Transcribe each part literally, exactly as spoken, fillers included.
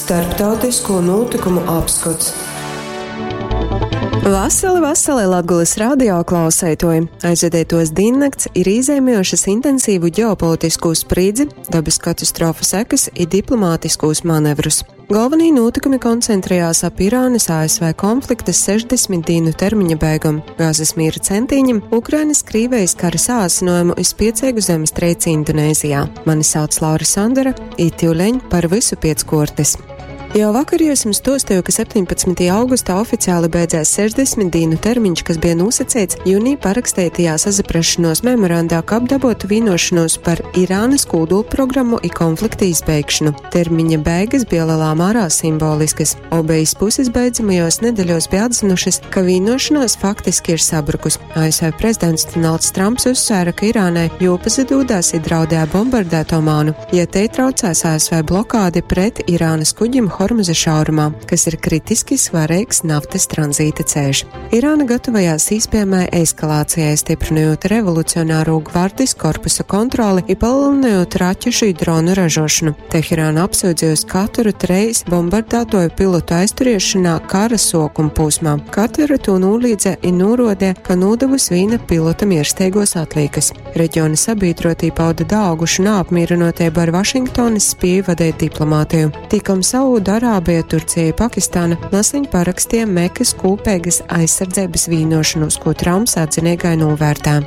Starptautisko nūtykumu apskots. Vasali, vasali Latgolys radio klauseituoji! Aizvadeituos dīnnakts ir īzeimējušys intensīvu ģeopolitiskū sprīdzi, dobys katastrofu sekys i diplomātiskūs manevrus. Golvonī nūtykumi koncentrējās ap Irānys A S V konflikta sešdesmit dīnu termiņa beigom, Gāzes mīra centīņim, Ukrainas Krīvejis kara sāsynuojumu i spieceigu zemestreici Indonēzijā. Mani sauc Laura Sandera, i tiuleņ par vysu piec kuortys. Jau vakar jums stuostīju, ka septiņpadsmytajā augustā oficiāli beidzēs sešdesmit dīnu termiņš, kas bija nosacīts jūnijā paraksteitajā sazaprašanos memorandā, kab dabotu vienošanos par Irānas kūdulprogrammu i konflikta izbeigšanu. Termiņa beigas bija lielā mērā simboliskas. Obejas puses beidzamajos nedeļos bija atzinušas, ka vienošanās faktiski ir sabrukus. A S V prezidents Donalds Trumps uzsvēra, ka Irānai jopazadūdās i draudēja bombardēt Omānu, ja te traucēs A S V blokādi pret Irānas kuģim Hormuza šaurumā, kas ir kritiski svarīgs naftas tranzīta ceļš. Irāna gatavojās iespējamai eskalācijai, stiprinot revolucionāro gvardijas korpusa kontroli i palielinot raķešu i dronu ražošanu. Teherāna apsūdzējusi Kataru treis bombardētoju pilotu aizturiešanā kara sokuma posmā. Katara to nolīdze i norodē, ka nodevus vīna pilota miersteigos atlīkas. Reģiona sabiedrotī pauda daaugušu neapmierinotību ar Vašingtonas spēju vadīt diplomātiju. Tikom Saudu Arābija, Turcija, Pakistāna naseņ parakstīja Mekas kūpēgas aizsardzības vīnošanos, ko Trumps atzinīgai novērtē.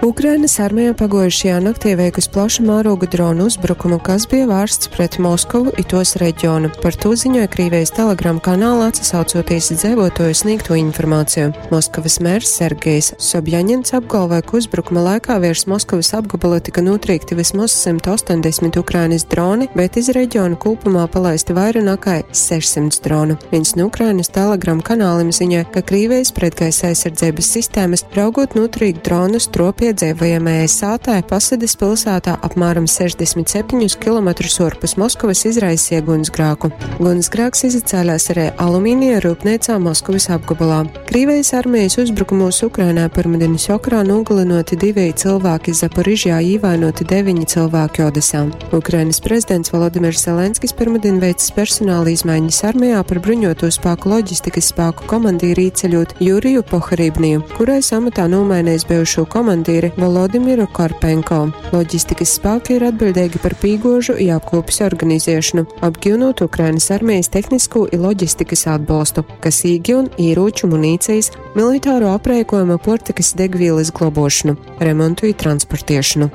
Ukrainas armija pagojušajā naktī veikus plaša mēroga dronu uzbrukumu, kas bija vērsts pret Moskovu i tos reģionu. Par to ziņoja Krīvijas Telegram kanālā, atsaucoties dzēvotoju sniegto informāciju. Moskavas mērs Sergejs Sobjaņins apgalvoja, ka uzbrukuma laikā virs Moskavas apgabala tika notriekti vismaz simt astoņdesmit Ukrainas droni, bet iz reģionu kopumā palaisti vairāk nekā sešsimt dronu. Viens no Ukrainas Telegram kanāliem ziņoja, ka Krīvijas pretgaisa aizsardzības sistēmas raugot notriekt dronus tropie dzīvojamajai sātai Pasades pilsētā apmēram sešdesmit septiņus kilometrus orpus Moskavas izraisīja gunsgrāku. Gunsgrāks izacēlās arī alumīnija rūpnīcā Moskavas apgabalā. Krīvijas armijas uzbrukumos Ukrainā pirmdienas vakarā nogalinoti divi cilvēki Zaporižjā, īvainoti deviņi cilvēki Odesā. Ukrainas prezidents Volodimirs Zelenskis pirmdien veicis personāla izmaiņas armijā, par bruņoto spēku loģistikas spēku komandīri īceļot Juriju Poharibniju, kurais amatā nomainījis bijušo komandīri Volodimiru Karpenko. Loģistikas spēki ir atbildīgi par pīgožu i apkopes organizēšanu, apgūnot Ukrainas armijas tehnisko i loģistikas atbalstu, kas īgiun ieroču, munīcijas, militāro aprēkojumu, portikas, degvielas globošanu, remontu i transportiešanu.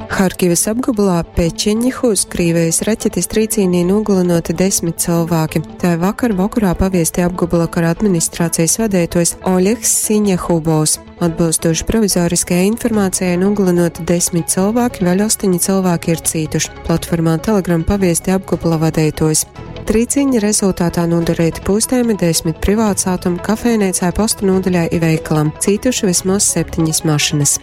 Harkivas apgabalā Pečeņihus Krīvijas raķetes trīcīnī nogalinoti desmit cilvēki. Tā vakar vakarā paviesti apgabala kara administrācijas vadētojs Oļegs Siņehubovs. Atbilstoši provizoriskajai informācijai, nogalinoti desmit cilvēki, vēl astoņi cilvēki ir cītuši. Platformā Telegram paviesti apgabala vadētojs. Trīciņa rezultātā nodarīti pūstējumi desmit privātsātumu, kafejnīcai, posta nodaļai i veikalam. Cītuši vismaz septiņas mašinas.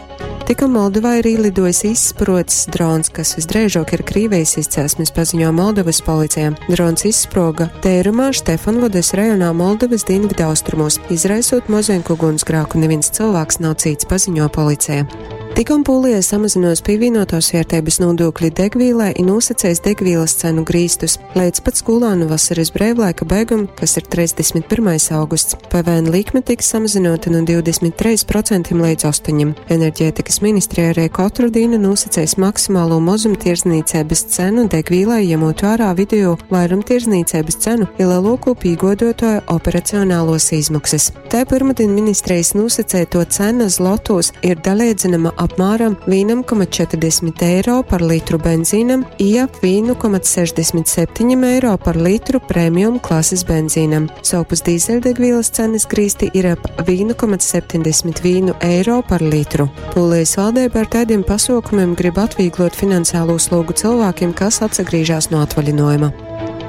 Tikko Moldovā ir ielidojis izsprocis drons, kas visdrīzāk ir Krīvijas izcelsmes, paziņo Moldovas policija. Drons izsproga tērumā Štefanvodes rajonā Moldovas dienvidu austrumos, izraisot mozenku ugunsgrāku. Neviens cilvēks nav cīts, paziņo policija. Tikom Polija samazinos pievienotās vērtības nodokļi degvīlai i nosacējis degvīlas cenu grīstus līdz pat skolānu vasaras brīvlaika beigam, kas ir trīsdesmit pirmais augusts. P V N likme tiks samazinota no divdesmit trim procentiem līdz astoņiem. Enerģētikas ministrija arī katru dienu nosacējis maksimālo mazumtirdzniecības cenu degvīlai, ņemot vērā vidējo vairumtirdzniecības cenu i lielāko pīgodotāju operacionālos izmaksas. Tā pirmdien ministrijas nosacēto cena zlotos ir dalīdzinama apmēram viens komats četrdesmit eiro par litru benzīnam i ap viens komats sešdesmit septiņi eiro par litru premium klases benzīnam. Sovpus dīzeļdegvielas cenas grīsti ir ap viens komats septiņdesmit viens eiro par litru. Polijas valdība ar tādiem pasaukumiem grib atvieglot finansiālo slogu cilvēkiem, kas atsagrīžās no atvaļinājuma.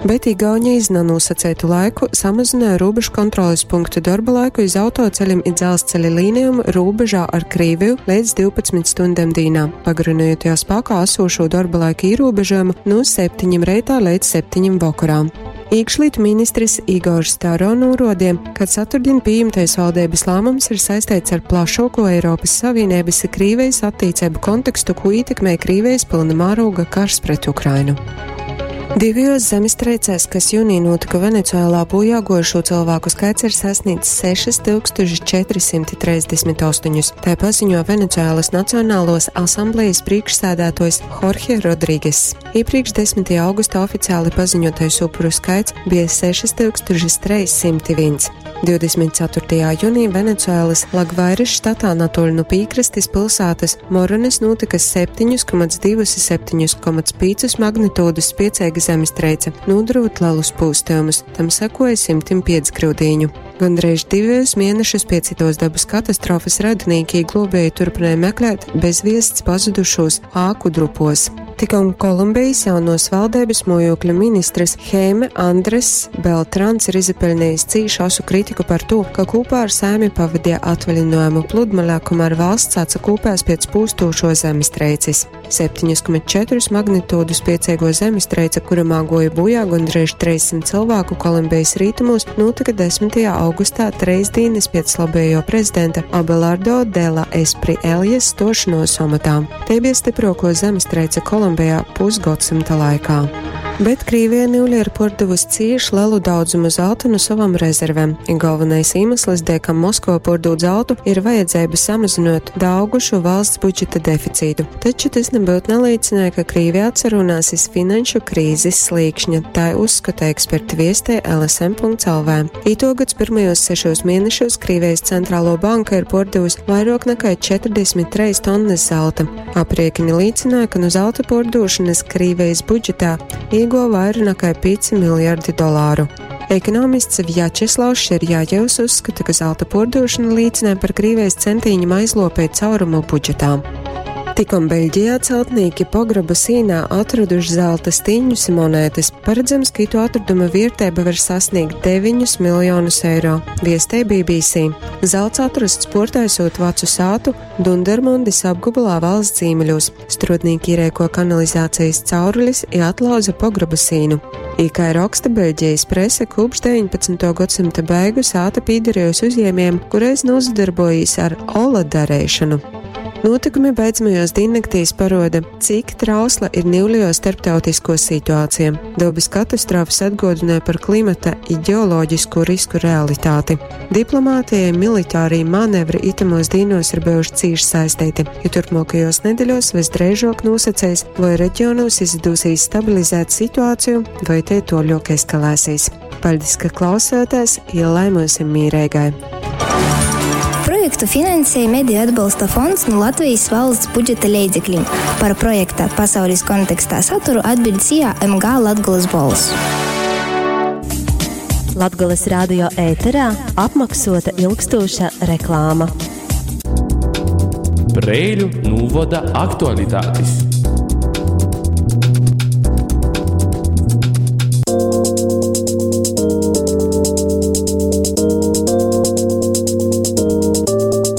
Bet Igaunija iz nanosacētu laiku samazināja robežu kontroles punktu darba laiku iz autoceļiem i dzelzceļa līnijām robežā ar Krīviju līdz divpadsmit stundām dīnā, pagarinot jau spēkā esošo darba laika ierobežojumu no septiņiem reitā līdz septiņiem vakarā. Iekšlietu ministrs Igors Staro norādīja, ka ceturtdien pieņemtais valdības lēmums ir saistīts ar plašāko Eiropas Savienības i Krīvijas attiecību kontekstu, ko ietekmē Krīvijas pilna mēroga karš pret Ukrainu. Divajos zemestreicēs, kas jūnī notika Venecuēlā, bojā gojušo cilvēku skaits ir sasniedzis sešas tūkstoši četri simti trīsdesmit astoņus. Tā paziņo Venecuēlas Nacionālos asamblejas priekšsēdētājs Jorge Rodrīges. Iepriekš desmitajā augustā oficiāli paziņotais upuru skaits bija sešas tūkstoši trīs simti viens. divdesmit ceturtajā jūnijā Venecuēlas Lagvairas štatā netoli no piekrastes pilsētas Morones notika septiņu komats divi septiņu komats pieci magnitūdas spēcīga zemestreice, nodarot lielus pūstījumus, tam sekoja simtim piecgrūdīņu. Gandrīz divus mēnešus pēc tos dabas katastrofas radinieki globēji turpināja meklēt bezviests pazudušos āku drupos. Tikom Kolumbijas jaunos valdības mojokļu ministrs Heime Andres Beltrans ir izpelnījis cīšu asu kritiku par to, ka kopā ar saimi pavadīja atvaļinājumu pludmalē, kamēr valsts atsakūpēs pēc pūstošo zemestreices. septiņu komats četri magnitūdu spēcīgo zemestreice, kuramā goja bojā gandrīz trīs simti cilvēku Kolumbijas rietumos, notika desmitajā augustā, treis dienas pēc labējo prezidenta Abelardo de la Espriellas stošanos amatā. Te bija stiprāko zemestreice Kolumbijā pusgadsimta laikā. Bet Krīvija niuļ ir pordevusi cīši lielu daudzumu zelta no savam rezervēm. I galvenais iemesls, dēļ kam Moskva pordod zeltu, ir vajadzība samazinot daugušu valsts budžeta deficītu. Taču tas nebūtu nelīdzināja, ka Krīvija atsarunās iz finanšu krīzes slīkšņa, tā uzskata eksperti viestē L S M punkts L V. Itogads pirmajos sešos mēnešos Krīvijas centrālo banka ir pordevusi vairāk nekā četrdesmit trīs tonnas zelta. Aprēķini liecināja, ka no zelta pordošanas Krīvijas budžetā ieguva vairāk nekā pieci miljardi dolāru. Ekonomists Vjačeslavs Šerjājevs uzskata, ka zelta pordošana liecināja par Krīvijas centīņiem aizlopēt caurumu budžetā. Tikom Beļģijā celtnieki pograba sīnā atraduši zelta stiņus un monētas. Paredzams, ka itu atraduma vērtība var sasniegt deviņus miljonus eiro, viestē B B C. Zelts atrasts portaisot vecu sātu Dundermundis apgabalā valsts zīmeļos. Strādnieki ierēko kanalizācijas caurulis i atlauza pograba sīnu. I kā raksta Beļģijas prese, kopš deviņpadsmitā gadsimta beigu sāta pīderējusi uzņēmējiem, kureiz nozadarbojīs ar ola darēšanu. Notikumi beidzamajos diennaktīs paroda, cik trausla ir niuļo starptautisko situācija. Dabas katastrofas atgodināja par klimata i ģeoloģisko risku realitāti. Diplomātijai militārī manevri itamos dīnos ir bijuši cīši saistīti, jo turpmākajos nedēļos visdrīzāk nosacīs, vai reģionos izdosies stabilizēt situāciju, vai tie toļok eskalēsies. Paldies, ka klausāties, ja laimosim mīrēgai. Projektu finansēja Mediju atbalsta fonds no Latvijas valsts budžeta leidzekļiem. Par projekta pasaules kontekstā saturu atbild SIA M G Latgolas Bols. Latgolas radio ēterā apmaksota ilgstoša reklāma. Preiļu novada aktualitātes.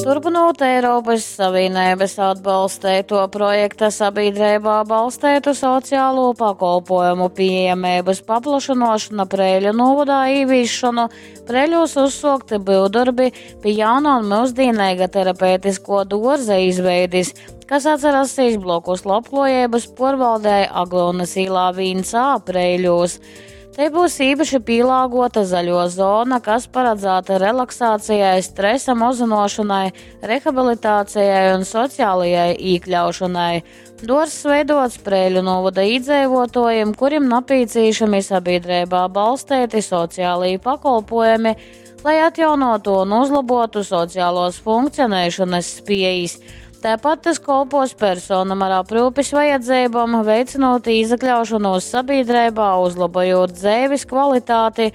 Turpinot Eiropas Savienības atbalstēto projekta sabiedrībā balstētu sociālo pakolpojumu pieejamības paplašinošana Preiļu novadā īvīšanu, Preiļos uzsokti būvdarbi pie jauna un mūsdienīga terapeitisko dorza izveidis, kas atcerasīs blokus labklājības porvaldē Aglonas īlā viens A Preiļos. Te būs īpaši pielāgota zaļo zona, kas paredzēta relaksācijai, stresa mazināšanai, rehabilitācijai un sociālajai iekļaušanai. Dārzs veidots Preiļu novada iedzīvotājiem, kuriem nepieciešami sabiedrībā balstīti sociālī pakolpojumi, lai atjaunotu un uzlabotu sociālos funkcionēšanas spējas. Tāpat tas kalpos personam ar aprūpes vajadzībām, veicinot iekļaušanos sabiedrībā, uzlabojot dzīves kvalitāti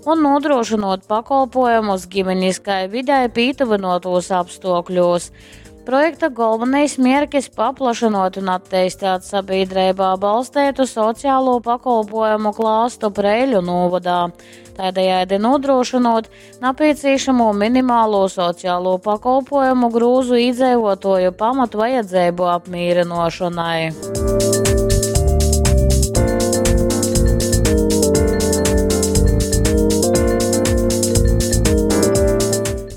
un nodrošinot pakolpojumus ģimeniskai videi pītuvinotos apstākļos. Projekta galvenais mērķis paplašinot un attīstīt sabiedrībā balstītu sociālo pakolpojumu klāstu Preiļu novadā. Tādējādi nodrošinot nepieciešamo minimālo sociālo pakolpojumu grūzu iedzīvotāju pamatu vajadzību apmierinošanai.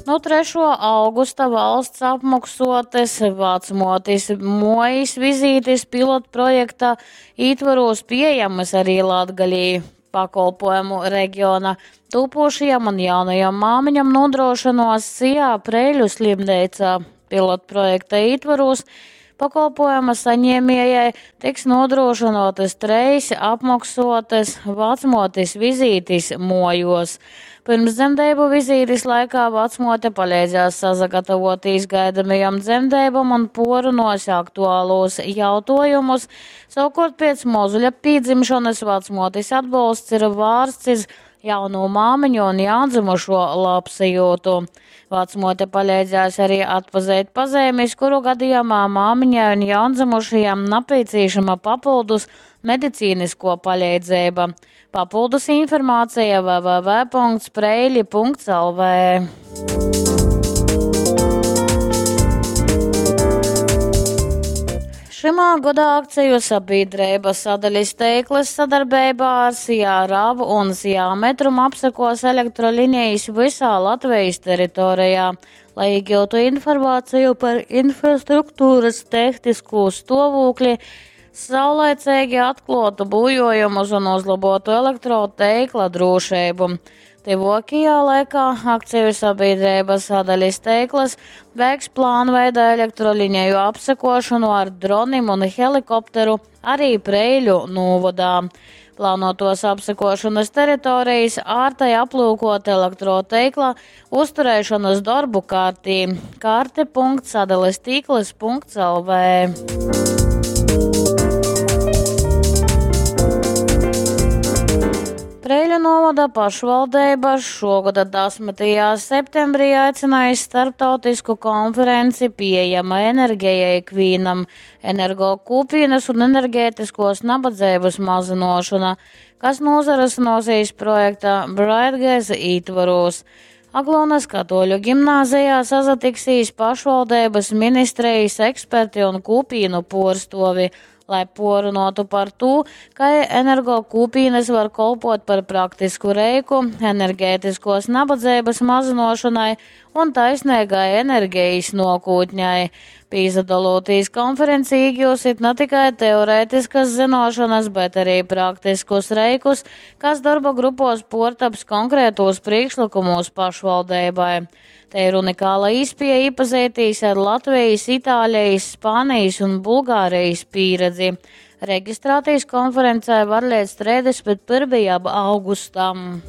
Nu trešuo augusta valsts apmoksuotys vacmuotis muojis vizītis pilotprojekta ītvorūs pieejamys arī Latgalī. Pakolpojumu regiona tūpošajam un jaunajam māmiņam nodrošinos SIA Preiļu slimneicā. Pilotprojekta ītvorūs pakolpojuma saņēmējai tiks nodrošinātas treis apmoksuotas vacmuotis vizītis muojos. Pirms dzemdību vizītes laikā vecmote palīdzēs sasagatavotīs gaidamajam dzemdībam un porunos aktuālos jautājumus. Savukārt pēc mozuļa pīdzimšanas vecmotes atbalsts ir vārsts iz jauno māmiņu un jaundzimušo labsajūtu. Vecmote palīdzēs arī atpazīt pazīmes, kuru gadījumā māmiņai un jaundzimušajam nepieciešama papildus medicīnisko palīdzība. Papildus informācija w w w punkts preili punkts l v. Šimā godā akciju sabiedrība sadalis teiklas sadarbībā ar SIA RAV un SIA Metrum apsekos elektrolinijas visā Latvijas teritorijā, lai iegūtu informāciju par infrastruktūras tehnisko stāvokli, saulaicīgi atklātu būjojumus un uzlabotu elektroteikla drošību. Tuvākajā laikā akciju sabiedrība sadalis teiklas veiks plānveida elektroliniju apsekošanu ar dronim un helikopteru arī Preiļu novadā. Plānotos apsekošanas teritorijas ārtai aplūkot elektroteikla uzturēšanas darbu kārtī. Karte punkts sadales tīklas punkts l v. Preiļu novada pašvaldība šogada desmitajā septembrī aicināja starptautisku konferenci Pieejama enerģija ikvienam, energo kūpienas un enerģētiskos nabadzības mazinošana, kas nozares nosīs projekta Brightgas ītvaros. Aglonas katoļu gimnāzijā sazatiksīs pašvaldības ministrijas eksperti un kūpīnu porstovi, lai porunotu par to, ka energo kūpīnes var kolpot par praktisku reiku enerģētiskos nabadzības mazinošanai un taisnīgai enerģijas nokūtņai. Pīzadalotīs konferenci iegūsit ne tikai teorētiskas zinošanas, bet arī praktiskus reikus, kas darba grupos portaps konkrētos priekšlikumos pašvaldībai. Te ir unikāla iespēja iepazīties ar Latvijas, Itālijas, Spānijas un Bulgārijas pieredzi. Reģistrēties konferencē var līdz trīsdesmit pirmajam augustam.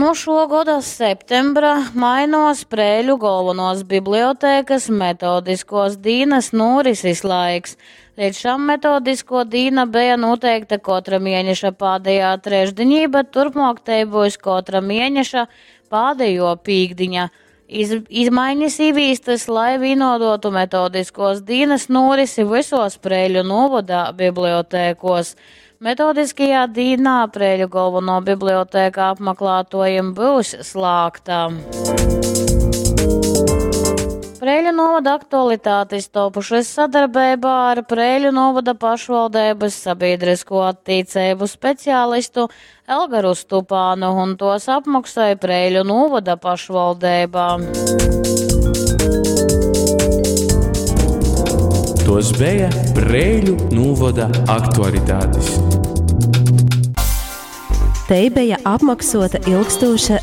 No šo gada septembra mainos Preiļu galvenos bibliotēkas metodiskos dīnas norises laiks. Līdz šam metodisko dīna bija noteikta katra mēneša pādējā trešdiņī, bet turpmāk te būs katra mēneša pādējo pīkdiņa. Iz, izmaiņas īvīstas, lai vienodotu metodiskos dīnas norisi visos Preiļu novada bibliotēkos. Metodiskajā dīnā Preiļu galveno bibliotēka apmeklētojiem būs slēgta. Preiļu novada aktualitātes topušas sadarbībā ar Preiļu novada pašvaldības sabiedrisko attīcību speciālistu Elgaru Stupānu un tos apmaksāja Preiļu novada pašvaldībā. Tos bija Preiļu novada aktualitātes. Te bija apmaksota ilgstoša